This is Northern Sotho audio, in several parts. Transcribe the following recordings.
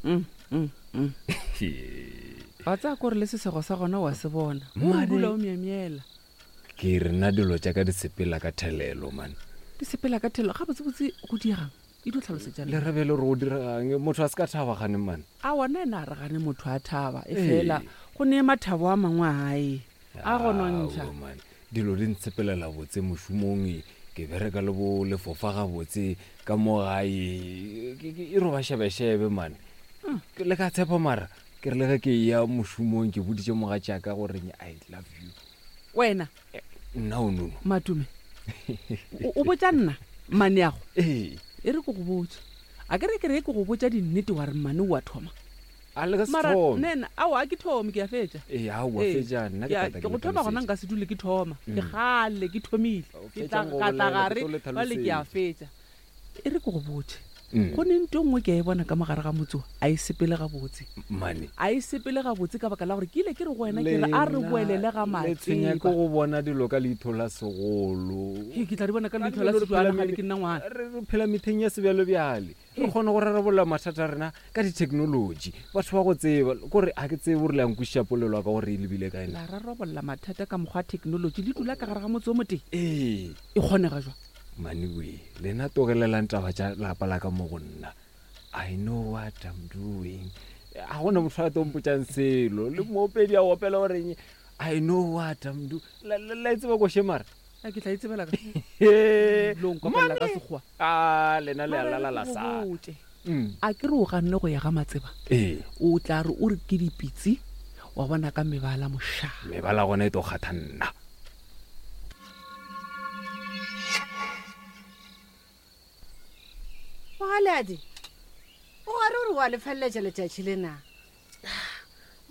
Mm, mm, mm. Wa tsaya kore le sesego sa gona wa se bona. O dula o myemyela. Ke re nna dilo tša ka di sepela ka thelelo man. Di sepela ka thelelo gabotsebotse go diegang? E dio tlhalosetša nna. Le re bjale gore go diregang motho a se ka thaba gane man. A wona ena a re gane motho a thaba e fela go ne mathabo a mangwe a gae a go nontšha. Aowa man dilo di ntshepelela botse mošomong ke bereka le bo lefofa gabotse ka mo gae e roba šebešebe man. Le ka tshepa mara ke re le ge ke eya mošomong ke boditše mogatšaka gore I love you. Wena Nna o nono. Matume o o botša nna mmaneago? Ee. E re ke go botše. A ke re ke re ke go botša dinnete wa re mmane o a thoma. A le ka se Mara thome. nna aowa a ke thome ke a fetša. Ee, aowa Ee, fetša nna ke ke a- tla tla ke ke go le thoma gona hlalosetša. nka se dule ke thoma. Ke kgale ke thomile. O Ke tla fetšang go ka tla bolela, ke gare tlo le bjale ke a hlalosetša. fetša. E re ke go botše. Go ne nto nngwe ke a e bona ka mo gare ga motse wo, a e sepele gabotse. Mmane. A e sepele gabotse ka baka la gore ke ile ke re go wena ke re a re boelele ga Lena le tshwenya ke Matseba. go bona dilo ka leitho la segolo. Hei, ke tla di bona ka Ka leitho la dilo re phela sejwana gane me- ke nna ngwana. re re phela metheng ya sebjalebjale. Re kgona go rarabolla mathata a rena ka ditheknolotši. Batho ba go tseba, kore ga ke tsebe gore le a nkwešiša polelo ya ka gore e lebile kae na. La rarabolla mathata ka mokgwa wa theknolotši le dula ka gare ga motse o motee? Ee. E kgonega jwang? Maniwe, lena togelelang taba tša lapa la ka mo go nna. I know what I'm doing. Ga gona motho a tlo mpotšang selo. Le moopedi a opela goreng I know what I'm doing. La, la, la e tseba koše mara? A ke tla e tsebela ka He, lo nkopelela ka mane! sekgowa. A lena le a Mara e re lala ke la go sa. botše. Mm. A ke re o ganne go ya ga Matseba? Ee. O tla re o re ke dipitsi wa bona ka mebala mošaa. Mebala gona e tlo kgatha nna. Mogaladi, o gare o re wa lefeleletša letšatši le na?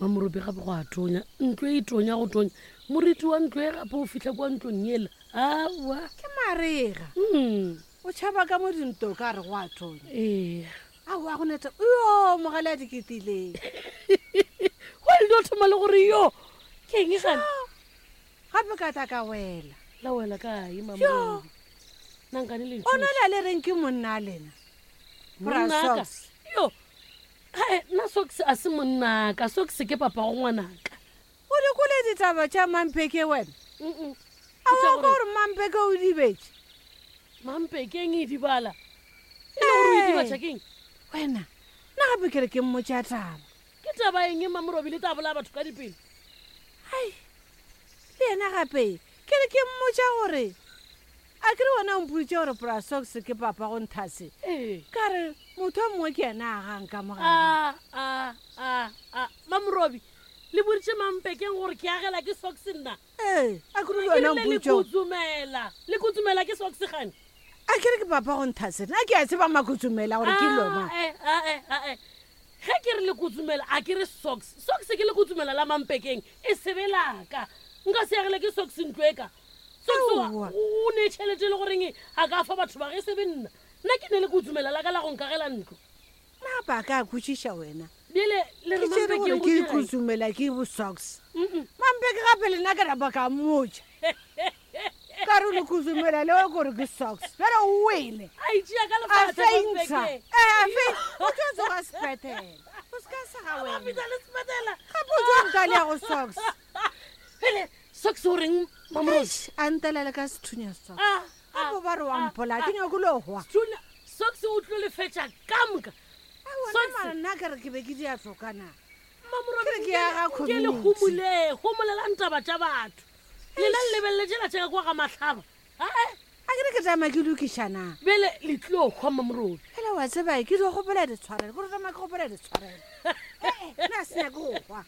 Mamoropi gape go a tonya, ntlo e tonya go tonya. Moriti wa ntlo e gape o fihla kwa ntlong yela. Aowa. Ke marega. Mm. O tšhaba ka mo dinto ka re go a tonya. Ee. Aowa go neta. Yo, mogaladi ke tileng. Wa le dio thoma le gore yo. Ke eng gane? Gape ka tla ka wela. La wela kae, Mamorobi? Nankane le O na le le reng ke monna a lena? Bra Monnaka. Socks. Yo. Hae, nna Socks a se monnaka. Socks ke papa go ngwanaka. O di kwele ditaba tša Mampeke wena? Mm-mm. A wa kwa gore Mampeke o dibetše? Mampeke eng e dibala? E le gore o e dibatša keng? Wena, nna gape ke re ke mmotša taba. Ke taba eng Mamorobi le tla bolaya batho ka dipelo? Ai, le yena gape ke re ke mmotša gore a ke re wena o mpoditše gore Bra Socks ke papa go Nthase. Ee. Ka re motho o mongwe ke yena a gang ka mo gare. A, a, a, a, Mamorobi, le boditše Mampekeng gore ke agela ke Socks nna? Ee, a ke re le Ke wena o rile le mpoditše gore. kutsumela, le kutsumela ke Socks gane? A ke re ke papa go Nthase, nna ke a tseba Makutsumela gore ke lona. Ae, ae, ae. Ge ke re le kutsumela, a ke re Socks. Socks ke le kutsumela la Mampekeng, e se be la ka. Nka se agele ke Socks ntlo e ka. Socks wa, Aowa. o ne tšhelete e le goreng a ka fa batho ba ge e se be nna. Nna ke ne le kutsumela la ka la go nkagela ntlo. Na ba ka kwešiša wena? Bjale le re Ke tšere Mampekeng gore go ke dirang? kutsumela ke bo Socks. Mm-mm. Mampeke gape le nna ke rapa ka mmotša. Ka re le kutsumela leo gore ke Socks. Bjale o wele. A itšea ka A lefatša feintsha. Mampeke. Eh, a fein- O tlo tsoga sepetele. O se ka sega Ba wena. fihla le sepetela. Gape o tlo ntalea go Socks. Bjale Socks o reng Mamorobi? Eish, a ntelele ka sethunya Socks. Ah, ah, Gape ba re wa ah, mpola, ah. ke nyako lo hwa. Sethunya, Socks o tlo lefetša ka moka. Aowa, Socks. nna mara nna ke re ke be ke di a tloka na. Mamorobi, Ke re ke ya ga nke le community. homole, homolelang taba tša batho. Lena le lebelele tšela tša ka kwa ga Mahlaba. Ae. A ke re ke tama ke lokiša na. Bjale le tlilo hwa Mamorobi. Fela wa tseba ke dio kgopela ditshwarelo, ke re tama ke kgopela ditshwarelo. Ee, nna se nyake go hwa.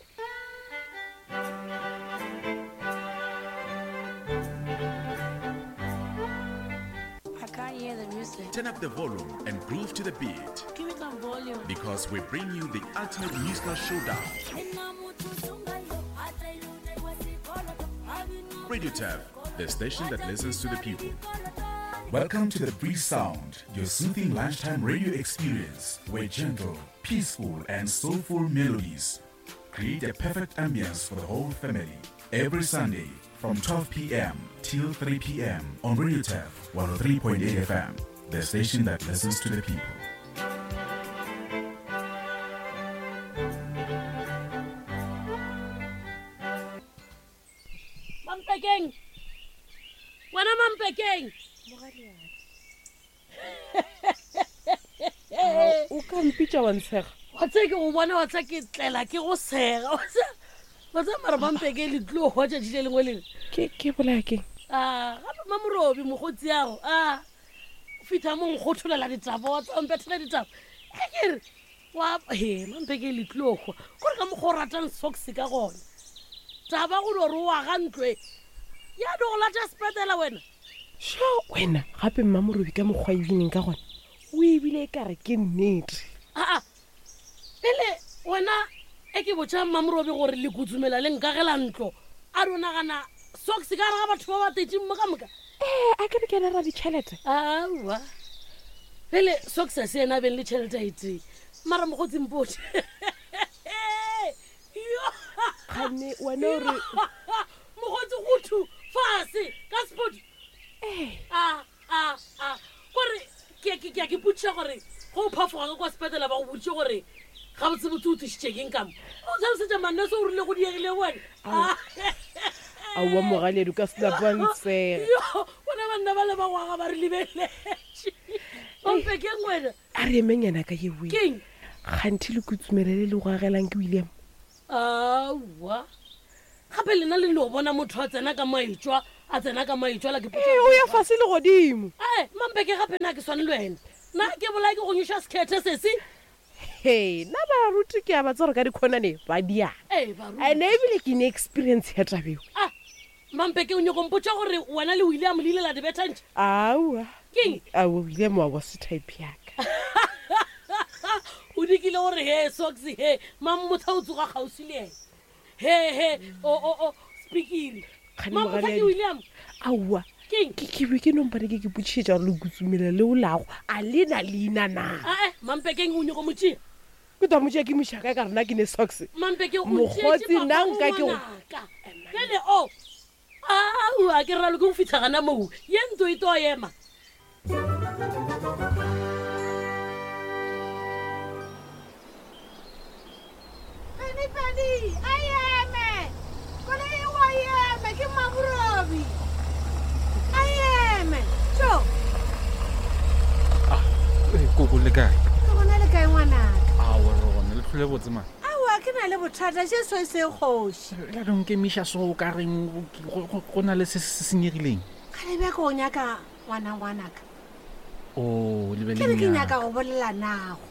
I can't hear the music. Turn up the volume and groove to the beat. Give me some volume. Because we bring you the ultimate musical showdown. Radio Tab, the station that listens to the people. Welcome to the Breeze Sound, your soothing lunchtime radio experience where gentle, peaceful, and soulful melodies create a perfect ambience for the whole family. Every Sunday from 12 p.m. till 3 p.m. on Radio Taf 103.8 FM, the station that listens to the people. Mampekeng wena Mampekeng o ka mpitša wa ntshega wa tse ke go bona wa tsa ke tlela ke go sega wa tse wa tse mara Mampeke le tlo hwa tšatši le lengwe lengwe ke ke bolaya keng a gape Mamorobi mogotsi yago a fitlha mo nkgotholela ditaba wa tsa mpethela ditaba e ke re wa he mampeke le tlilo hwa kore ka mokgwa o ratang socks ka gona taba go no re o aga ntlo e ya di go lata sepetela wena sho wena gape mmamorobi ka mokgwa ebineng ka gona o ebile e kare ke nnete aa pele wena e ke botša mmamorobi gore le kutsumela le nkagela ntlo a do nagana socks ka gare ga batho ba ba tetseng mo ka moka ee a ke re ke ena ra ditšhelete aowa pele socks a se ena a beng le tšhelete a e tee mara mokgotsi mpotše kganne wena o re mokgotsi gothu fase ka spot a a a kore ke ke ke ke potšiša gore go o phafoga ka kwa sepetela ba go boditše gore gabotsebotse o tlišitše keng ka mo o tlhalosetša manese o rile go diegile wena aowa mogaledi ka selapantsega yo bona banna ba le ba ngwaga ba re lebeletše ompe keng wena a re emeng yana ka yewe keng kganthi le kutsumele le le go agelang ke william aowa gape lena le no bona motho a tsena ka maetswa a tsena ka maetswa la ke ee o ya fase le godimo ee mampeke gape na ke swane le wena na ke bolae ke go nyoša sekhethe sese he nna baruti ke a ba tsore ka dikhonane ba diana ee baruti ene ebile ke ne experience ya tabeo ah mampeke o nyako mpotša gore wena le william le ile la di bethantšha aowa Keng? aowa william wa wa se type yaka o dikile gore he socks he mamotha o tsoga kgauswi le ene he he o o o speakiri Kgane mamotha ke moraledi. william aowa Keng? ke ke be ke nompane ke ke botšišetša gore le kutsumela leo lago a le na leina na ae mampekeng o nyako motšea ke twa motšea ke mošaka ka rena ke ne socks mampeke o Mokgotsi, nna nka ke go- pele o aowa ke ralo ke go fitlha gana moo ye ntlo e to ema Pedi pedi a eme koloi e wa eme ke maborobi a eme tso Ee, koko le kae ke gona le kae ngwanaka awa re gona le tlhole botse mane aowa ke na le bothata še so e se kgoši la donkemiša so o ka reng go na le se se senyegileng gale bja ke o nyaka ngwana ngwanaka o le be ke le re ke nyaka nyaka go bolela nago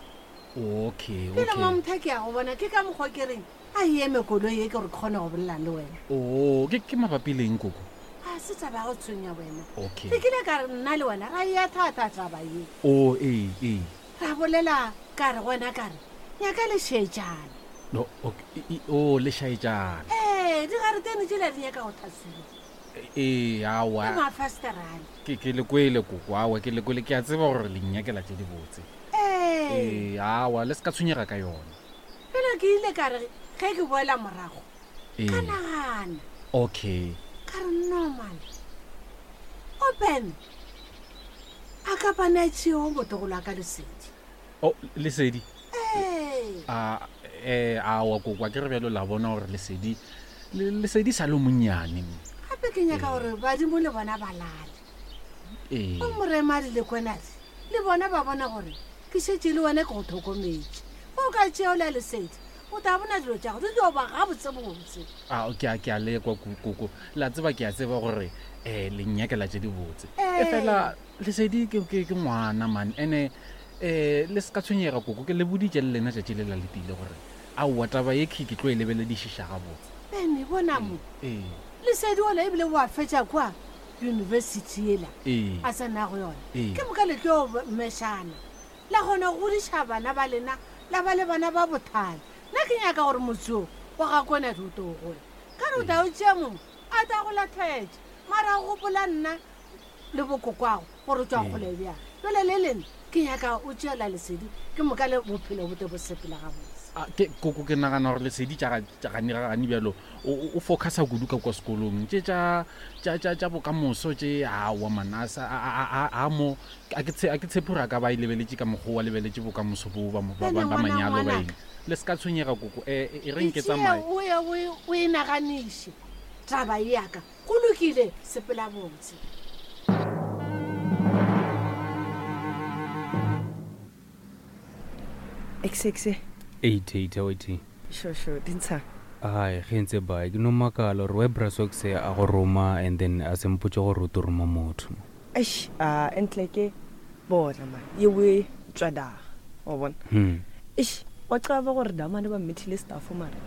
okay pele okay mamotha ke ya go bona ke ka mokgwa ke reng a eme koloi e ke gore ke kgone go bolela le wena o ke ke mabapi leng koko a se taba ya go tshwenya wena okay ke kile ka re nna le wena ra ya thata taba ye o ee ee ra bolela ka re go wena ka re nyaka lešetšana no okay o le šaetšana ee digaretene tsela di nyaka go thasiwa ee ke awa mafasterane ke ke le kwele koko awa ke le kwele ke a tseba gore le nnyakela tše dibotse ee ee awa le se ka tshwenyega ka yona pele ke ile ka re ge ke boela morago ka ee nagana okay ka re normal open a ka pana tšeo motogolo a ka lesedi o lesedi ee a eh awa koko a ke re bjalo la bona gore lesedi lesedi sa le monnyane gape ke nyaka gore badimo le bona ba lale ee o moremadi le kwenadi le bona ba bona gore ke šetše le wena ke go tlhokometše go ka tšeo la lesedi o tla bona dilo tša go di tlo ba gabotsebotse a ke a ke a lekwa koko la tseba ke a tseba gore um le nnyakela tše dibotse Ee. e fela lesedi ke ke- ke ngwana man ene um le se ka tshwenyega koko ke le boditše le lena tšatši le la letile gore aowa taba ye ke ke tlo e lebeledišiša gabotse bene bona mo ee lesedi ola ebile o a fetša kwa yunibesithi ela ee a tsena go yona Ee. ke moka le tlo mešana la kgona go godiša bana ba lena la ba le bana ba bothale nna ke nyaka gore motse o wa ga kwenadi o to o gola ka re o tla o tšea mongwe a ta go latlhetše mara go gopola nna le bokokwago gore o tswa kgole bjang jale le lena ke nyaka o tšeela lesedi ke moka le bophelo bo te bo sepela gabotse A, ke koko ke nagana gore lesedi tša gane bjalo o focusa kudu ka kwa sekolong tše tša bokamoso tše aowa man a sa- a mo a ke tshepe gore a ka ba e lebeletše ka mokgwa wa lebeletše bokamoso bo ba Bjale ngwana manyalo ba ngwanaka. eng le se ka tshwenyega koko e e reng ke Ke tšee tsamaye o ye o e- o e naganiše taba e yaka go lokile sepela botse Exe Eight, eight, wait. Sure, sure, dintsha. Ai, ge ntse ba ke no makala gore why Brasox a go roma and then a se mpotse gore o tlo roma motho. Eish, a entle ke bona man. Yewe tswada. Wa bona. Eish, wa qaba gore damane ba mmethile staff mara.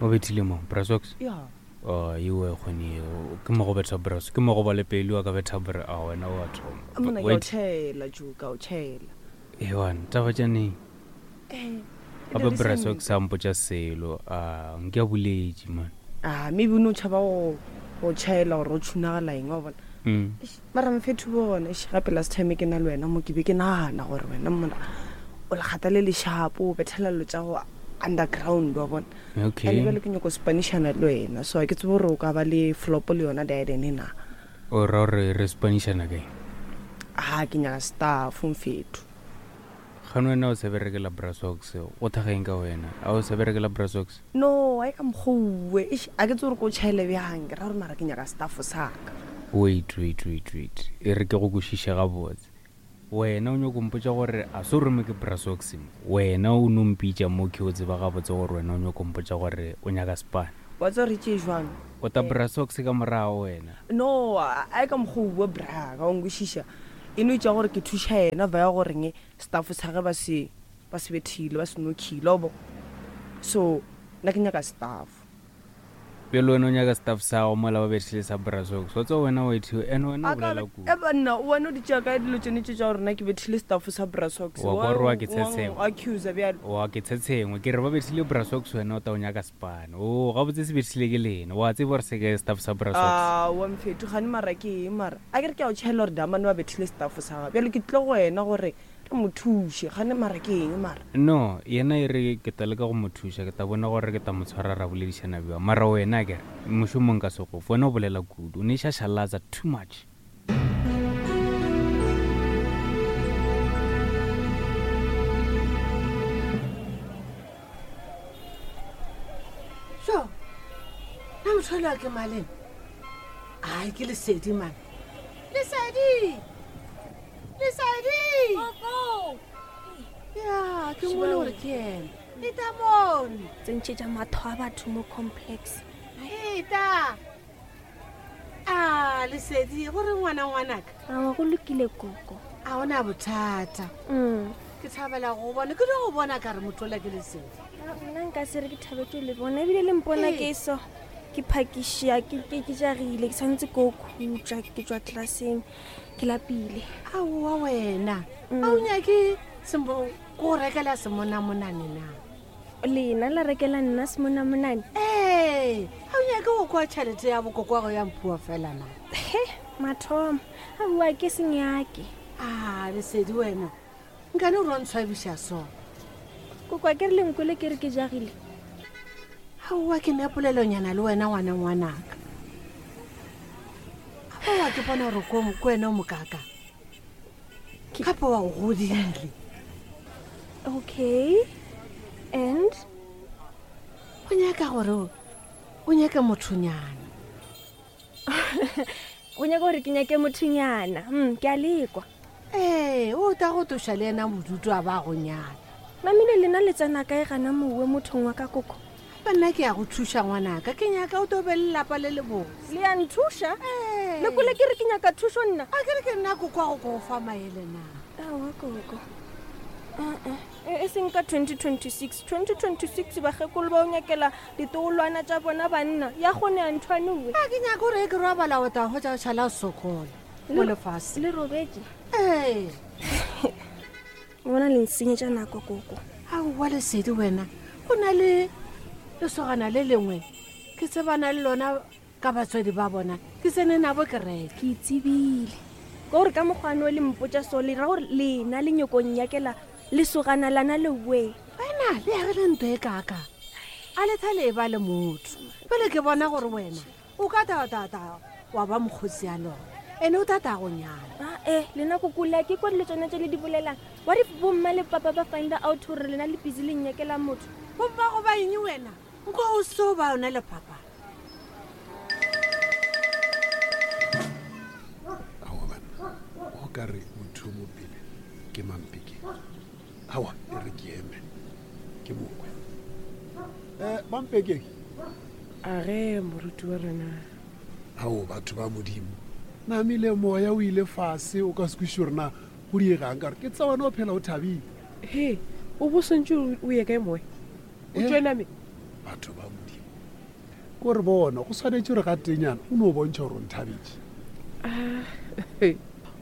O bethile mo Brasox? Yeah. Oh, iwe kgone ke mo go betha Bras, ke mo go ba le pelo a ka betha Bra, a wena wa thoma. Mona ke o tšhela, Ju, ka o tšhela. Ewan, taba tša neng? Eh, Gape Brasox a mpotša selo, a nke a boletše man. Ah, maybe o no tšhaba go go tšhaela gore o tšhunagala eng wa bona. Eish, mara mfethu bona, eish, gape last time ke na le wena mo ke be ke nagana gore wena mona o lekgata le lešapo o bethela dilo tša go underground wa bona. Okay. And bjale ke nyako spanišana le wena so a ke tsebe gore o ka ba le flop le yona diadene na. O ra gore re spanišana kae? Ah, ke nyaka staff mfethu. Gane wena o sa berekela Brasox, go thageng ka wena? A o sa berekela Brasox? No, a e ka mokgouwe. Eish, a ke tsebe gore ko tšhaele bjang. Ke ra gore mara ke nyaka staff sa ka. Wait, wait, wait, wait. E re ke go kwešiše gabotse. Wena o nyako mpotša gore a se o rome ke Brasox mo. Wena o no mpitša mo ke o tseba gabotse gore wena o nyako mpotša gore o nyaka spane. Wa tseba re tšee jwang? O ta Brasox ka morago wena. No, a e ka mokgouwe bra, ka o nkwešiša. E no itša gore ke thuša yena via goreng staff sa ge ba se ba se bethile ba se nokhile obo. So nna ke nyaka staff. Bjale wena o nyaka staff sa gago mola ba bethile sa Brasox. Wa tseba wena wa ithiwa and wena o bolela kudu. E banna wena o di tšea kae dilo tšone tše tša gore nna ke bethile staff sa Brasox. Wa kwa gore wa ke tshetshengwe. Wa accuser bjalo. Wa ke tshetshengwe. Ke re ba bethile Brasox wena o ta o nyaka spane. O gabotse se bethile ke lena. Wa tseba gore se ke staff sa Brasox. Ah, wa mfethu gane mara ke eng mara? A ke re ke a o tšhaela gore Damane wa bethile staff sa gagwe. Bjale ke tlile go wena gore re mo thuše. Gane mara ke eng mara? No, yena e re ke tla leka go mo thuša, ke tla bona gore ke tla mo tshwara ra boledišana bjang. Mara wena akere, mošomong nka se go fe. Wena o bolela kudu, o ne šašalatsa too much. So, na motho yola ke maleng? Ai, ke Lesedi man. Lesedi! Lesedi! Gogo! Ya, ke mmone gore ke ena. Eta mono. Tsentšhetša matho a batho mo complex. Eta! A, Lesedi, go re ngwana ngwanaka? Aowa, go lokile koko. A ona bothata. Ke thabela go bona, ke no go bona ka re motho ola ke Lesedi. Nna nka se re ke thabetše le bona ebile le mpona ke so ke phakišea ke ke ke jagile ke swanetse ko khutša ke tšwa classeng ke lapile. Aowa wena, a o nyake sembo go rekela semonamonane na? Lena la rekela nna semonamonane? Ee, a o nyake go kwa tšhelete ya bokokwago ya mphua fela na? He, mathomo, aowa ke senyake. A Lesedi wena, nkane o ro ntshwabiša so? Kokwa ke re le nkwele ke re ke jagile. Aowa ke ne polelonyana le wena ngwana ngwanaka. Aowa ke bona gore ko ko wena o mokaka. Gape wa o godile. Okay. And? O nyaka gore o nyake mothonyana. O nyaka gore ke nyake mothonyana. Ke a lekwa. Ee, o ta go toša le yena bodutu a ba go nyala. Mamile lena le tsena kae gana mowe mothong wa ka koko? Gape nna ke ya go thuša ngwanaka, ke nyaka o to be le lapa le le botse. Le ya nthuša? Ee. Le kwele ke re ke nyaka thušo nna? A ke re ke nna koko a go ko fa maele na? Aowa koko. Aa, e seng ka 2026. 2026 bakgekolo ba o nyakela ditogolwana tša bona banna. Ya kgone ya nthwane owe. A ke nyaka gore e ke robala o tla hwetša o šala o sokola mo lefaseng. Le robetše? Ee. O bona le nsenyetša nako koko. Aowa Lesedi wena, go na le lesogana le lengwe ke tsebana le lona ka batswadi ba bona, ke tsene nabo kereke. Ke tsebile ka gore ka mokgwane o le mpotša so le ra gore lena le nyoko nnyakela lesogana lana le we. Wena le agile ntho e kaka, a le thale e ba le motho. Pele ke bona gore wena o ka ta ta ta wa ba mokgotsi ya lona, ene o tata go nyala. Ah, lena kokola ke kwa dilo tsone tse le di bolelang. What if bomma le papa ba find out gore lena le busy le nnyakela motho? Bomma go ba eng wena? Nko o so ba yona le papa. ka re motho mo pele ke mampeke awa e re ke eme ke mokwe um eh, mampekeng a ge moruti wa rena ao batho ba modimo namile moya o ile fase o ka se kwešiše gore na go diegang ka gore ke tsa wena o phela o thabile he o bo swantse o ye kae moya o eh? tswe name batho ba modimo ko re bona go swanetše gore ga tenyana o no bontšha gore o nthabetše ah,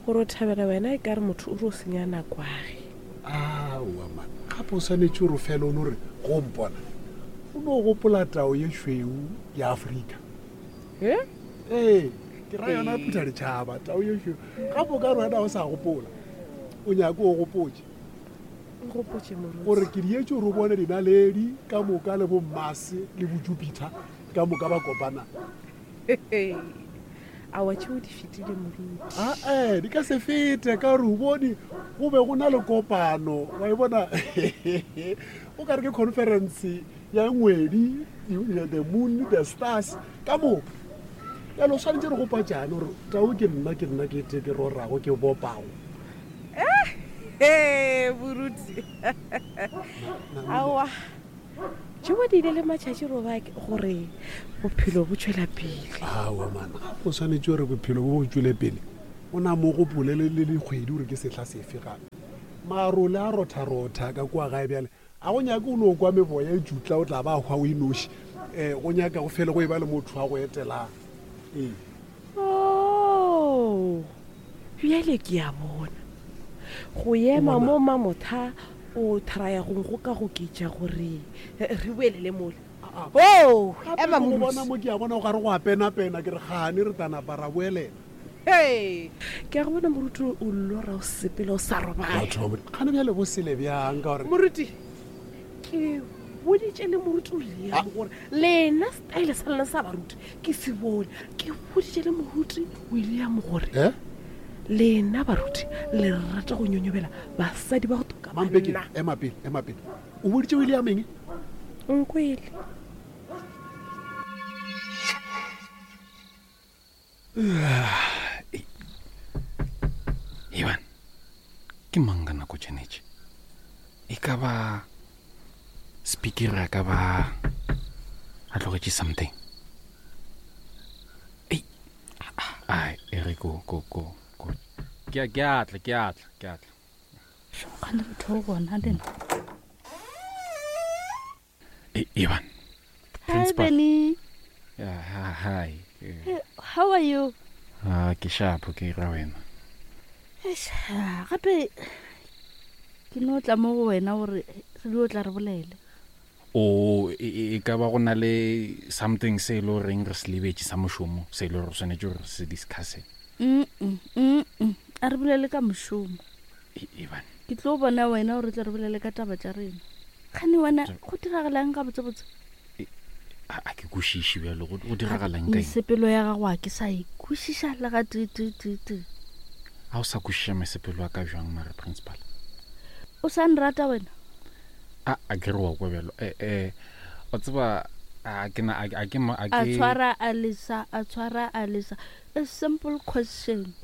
gore o thabela wena e ka re motho o re o senya nakwage aowa man gape o swanetše gore o fele o no re go mpona o no gopola tao ye šweu ya aforika e ee ke ra yona phutha ditšhaba tao ye šweu gape o ka re wena o sa gopola o nyake o gopotše gore ke dietše gore o bone dinaledi ka moka le bommase le bojupiter ka moka ba kopana awa tšeo di fetile moruti ae di ka se fete ka gore o bone go be go na le kopano wa e bona o ka re ke conference ya ngwedi the moon the stars ka moka jalo o swanetse re gopa jane gore tao ke nna ke nna ke te ke rorago ke bopago ee boruti aowa tšeo di ile le matšhatši roba gore bophelo bo tšwela pele aowa mana o swanetše gore bophelo bo bo tšwele pele o na mo gopole le dikgwedi gore ke sehla sefe gape marole a rotharotha ka kua gae bjale a go nyake o no kwa meboya e tšutla o tla ba hwa o inoši um go nyaka go fele go e ba le motho wa go etelang ee oh bjale ke a bona go ema mo mamotha o thraya go go ka go ketša gore re boelele mola o ema mo bona mo ke a bona o gare go a penapena ke re gane re tanapa ra boelela Hey, ke a go bona moruti o lora o sepela o sa robala gane bjale bo sele bjang ka gore moruti ke boditše le moruti o liam gore lena style sa lena sa baruti ke se bone ke boditše le moruti william gore eh? lena baruti le rata go nyonyobela basadi ba go toka mampeke ema pele ema pele o boditše william eng nkwele Ivan, ke mang ka nako tšenetše e ka ba speaker a ka ba a tlogetše something ei ai e re ko ko ko ko ke a ke a tla ke a tla ke a tla Kgale re tho bona le nna. E- Ivan Hi Principal. Benny. Yeah, hi, hi. Eh, Hey, How are you? Ah, ke shapo ke ra wena Eish, ah, Gape ke no tla mo go wena gore re dio tla re bolele. o e e- e ka ba go na le something se e le goreng re se lebetše sa mošomo se e le gore re swanetše gore re se discusse Mm mm mm. A re bolele ka mošomo. E- Ivan Ke tlo bona wena gore tle re bolele ka taba tša rena. Kgane wena go diragalang gabotsebotse? A a ke kwešiše bjalo go go diragalang ka eng Mesepelo ya gago a ke sa e kwešiša le ga tee tee tee tee. A o sa kwešiša mesepelo ya ka bjang mare principal O sa nrata wena? A a ke re wa kwa bjalo eh eh o tseba a ke na a a ke ma- a A ke tshwara a lesa, a tshwara a lesa. A simple question.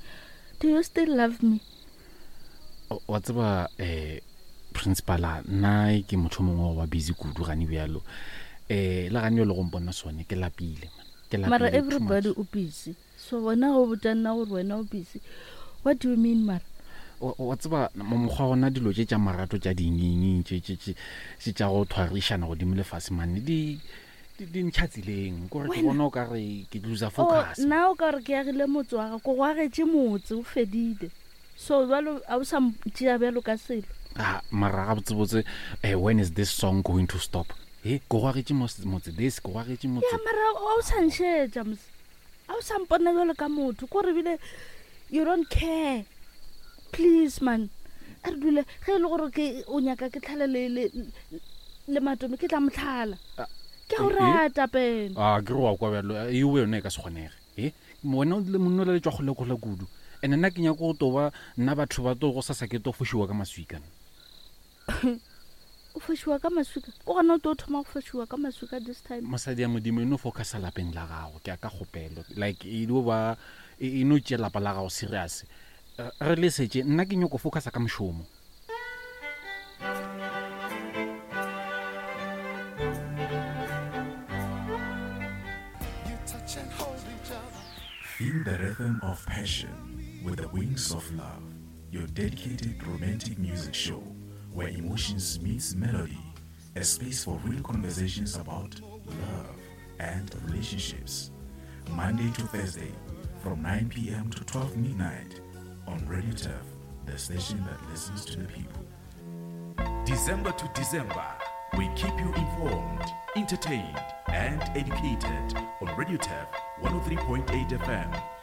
Do you still love me? Wa tseba um principala nna ke motho mongwe wa busy kudu gane bjalo um le gane le go mpona sone ke lapile man. Ke lapile Mara too everybody much. o busy. So wena go botša nna gore wena o busy. What do you mean mara? Wa tseba mokgwa gona dilo tše tša marato tša dinginging tše tše tše tše tša go thwarišana godimo lefase mane di di di ntšha tseleng kore ke bona o ka re ke loser Oh, focus nna o ka gore ke agile motse wa gago ko go agetše motse o fedile so jalo a o sa tšea bjalo ka selo Ah, mara gabotsebotse eh, when is this song going to stop e ko go agetše motse this ko go agetše motse ya mara a o sa nšetša mos a o sa mpona bjalo ka motho ko re bile you don't care please man a re dule ge e le gore ke o nyaka ke tlhale le, le, le matome ke tla motlhala ke a go eh, eh? rata pene a ke re wa kwa bjalo eo yone e ka se kgonege e wena o le monna o le tswa kgole-kgole kudu and nna ke nyako go toba nna batho ba to go sasa ke to fošiwa ka maswika nna. o fošiwa ka maswika o gona o to thoma go fošiwa ka maswika this time mosadi ya modimo e no focusa lapeng la gago ke a ka kgopelo like e dio ba e no tšea lapa la gago serious. Re lesetše, nna ke nyoko focusa ka mošomo. Feel the rhythm of passion with the Wings of Love, your dedicated romantic music show where emotions meets melody, a space for real conversations about love and relationships. Monday to Thursday from 9 p.m. to 12 midnight on Radio Turf, the station that listens to the people. December to December, we keep you informed, entertained, and educated on Radio Turf 103.8 FM.